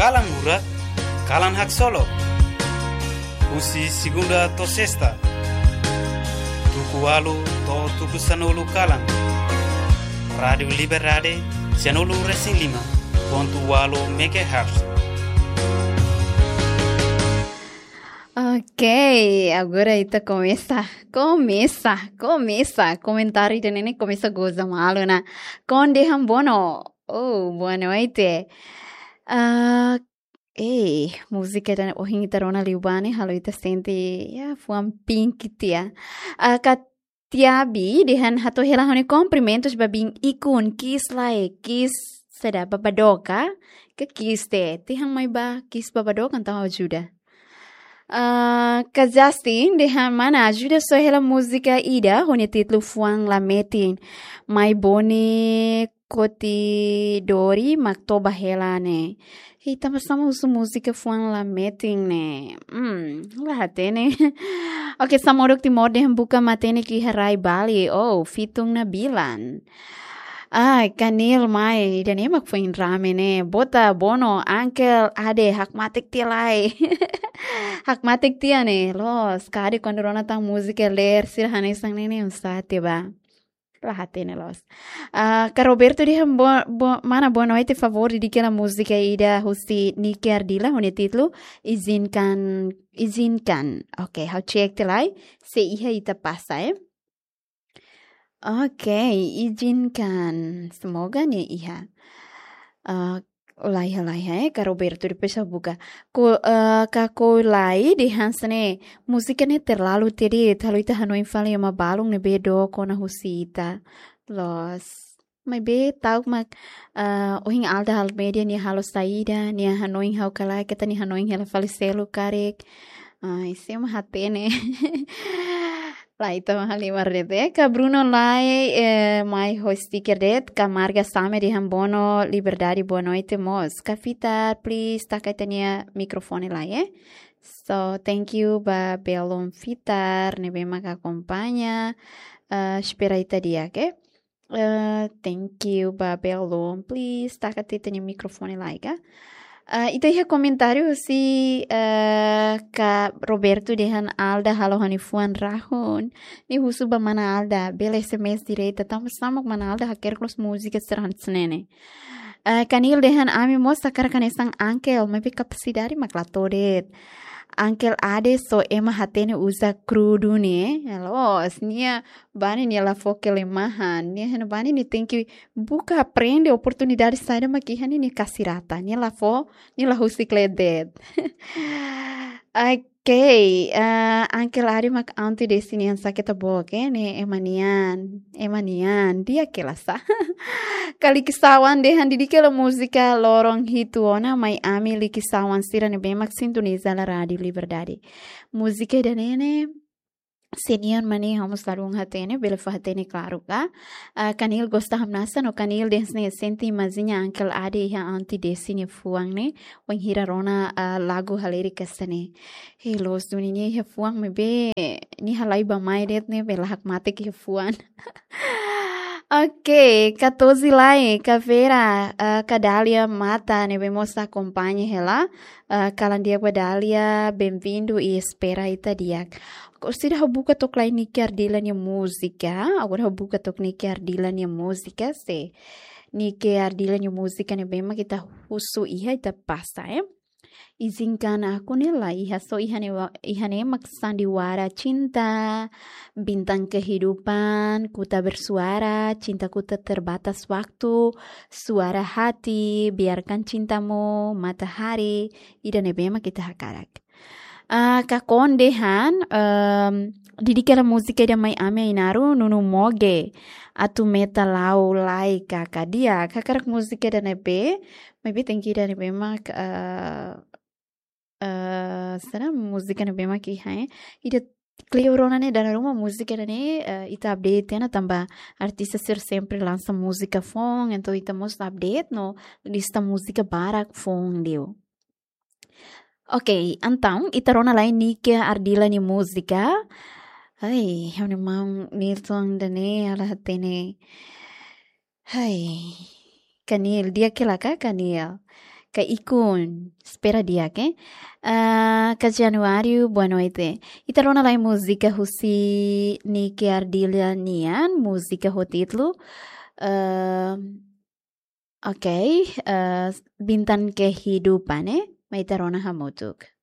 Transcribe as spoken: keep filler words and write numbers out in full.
Kalan Hurak, Kalan Haksolok. Husi segunda to'o sesta, tuku ualu to'o tuku sanulu kalan. Rádiu Liberdade, sanulu resin lima pontu ualu megahertz. Ok, agora ita komesa, komesa, komesa. Komentáriu ida-ne'e komesa goza malu ona. Konde Hambono. Oh, boa noite. Ah, eh, múzika ida ohin ita rona liu ba ne'e, halo ita sente, ya, fuan pink tiha. Ah, Katiabi dehan hato'o hela ha'u-nia kumprimentus ba biin ikun, kiss lae, kiss saida, babadook ka? Ka kiss de'it, dehan mai ba kiss babadook entaun ajuda. Ah, Kak Justin dehan mana ajuda soe hela múzika ida ho nia títulu Fuan La Metin. Mai Boni Koti Dori mak toba hela ne'e. Hei, tanba sá mak husu múzika Fuan La Metin ne'e? Hmm, la hatene. Ok, Samoruk Timor dehan buka matenek iha rai Bali. Oh, Fitungna Bilan. Ah, Kanil mai, ida-ne'e mak foin rame ne'e. Bota Bono, Uncle Ade, hakmatek tiha lai. Hakmatek tiha ne'e, loos. Kade kuandu rona tan múzika ler, sira hanesan ne'e ne'e, oinsá tiha ba. La hatene loos. Ah, Kak Roberto dehan bo-, bo-, mana boa noite, favór dedika hela múzika ida husi Nike Ardila, ho nia títulu, Izinkan, Izinkan. Ok, ha'u cek tiha lai, se iha ita pasa, eh. Ok, izinkan. Semoga nia iha. Ah, laiha, laiha, eh, Kak Roberto, depois ha'u buka. Ko, ah, Kak Kolai dehan hanesan ne'e, múzika ne'e terlalu tiha de'it, halo ita hanoin fali ema balun ne'ebé dook ona husi ita. Loos. Maibé ta'uk mak, ah, ohin Alda Almeida nia halo saida, nia hanoin ha'u ka lae, keta nia hanoin hela fali seluk karik. Ai, sé mak hatene. Lae, ita halimar de'it. Kak Bruno Lai, eh, mai ho sticker de'it, Kak Marga Same dehan Bono, Liberdade, boa noite mós. Kak Fitar, please, taka ita-nia mikrofone lai, eh. So, thank you ba belun Fitar, ne'ebé mak akompaña, eh, espera ita di'ak, eh. Eh, thank you ba belun, please, taka ita-nia mikrofone lai ka. Ah, ita iha komentáriu husi, eh, Kak Roberto dehan Alda halo ha'u-nia fuan rahun. Nia husu ba mana Alda, bele S M S direta, tanba sá mak mana Alda hakerek loos múzika sira hanesan ne'e. Eh, Kanil dehan ami mós hakarak hanesan Uncle, maibé kapasidade mak la to'o de'it. Uncle Ade só ema hatene uza krudu ne'e. Loos, nia bá ne'e nia la fó kelemahan. Nia heno bá ne'e nia tenke buka aprende oportunidade saida mak iha ne'e nia kasi rata. Nia la fó, nia la husik leet de'it. Ok, ah, Uncle Ade mak Aunty Desi nian, sá keta book, eh, ne'e ema nian, ema nian, di'ak hela sá. Kak Liki Sawan dehan dedika hela múzika loron hitu ona mai ami Liki Sawan sira ne'ebé mak sintoniza hela Rádiu Liberdade. Múzika ida-ne'e ne'e, sé nian mak ne'e, ha'u mós ladún hatene, bele fó hatene klaru ka. Ah, Kanil gosta hamnasa no Kanil dehan hanesan ne'e sente imajiña Uncle Ade iha Aunty Desi nia fuan ne'e, wainhira rona, ah, lagu halerik hanesan ne'e. Hei, loos duni nia iha fuan maibé nia halai bá-mai de'it ne'ebé la hakmatek iha fuan. Ok, Kak Tozi Lai, Kak Vera, ah, Kak Dália Mata, ne'ebé mós akompaña hela. Ah, kalan di'ak ba Dália, bem-vindo i espera ita di'ak. Orsida ha'u buka took lai Nike Ardila nia múzika, agora ha'u buka took Nike Ardila nia múzika, se Nike Ardila nia múzika ne'ebé mak ita husu iha ita pasa, eh. Izinkan aku ne'e la iha, só iha ne'e wa-, iha ne'e mak Sandiwara Cinta, Bintang Kehidupan, Ku Tak Bersuara, Cintaku Tak Terbatas Waktu, Suara Hati, Biarkan Cintamu, Matahari, ida ne'ebé mak ita hakarak. Ah, Kak Kon dehan, ehm, dedika hela múzika ida mai ami Ainaro, Nunu Moge, Atu Meta La'o Lai Kaka. Di'ak, hakarak múzika ida ne'ebé, maibé tenke ida ne'ebé mak, eh, eh, saida múzika ne'ebé mak iha, eh? Ida kleur ona ne'e, dala ruma múzika ida-ne'e, eh, ita update tiha ona tanba artista sira sempre lansa múzika foun, entaun ita mós update no lista múzika barak foun liu. Ok, entaun, ita rona lai Nike Ardila nia múzika. Ai, ha'u-nia maun Nilton ida-ne'e, ha'u la hatene. Hai, Kanil, di'ak hela ka, Kanil? Ka Ikun, espera di'ak, eh? Ah, Ka Januário, boa noite. Ita rona lai múzika husi Nike Ardilha nian, múzika ho títulu, ah, ok, ah, Bintang Kehidupan, eh? Mai ita rona hamutuk.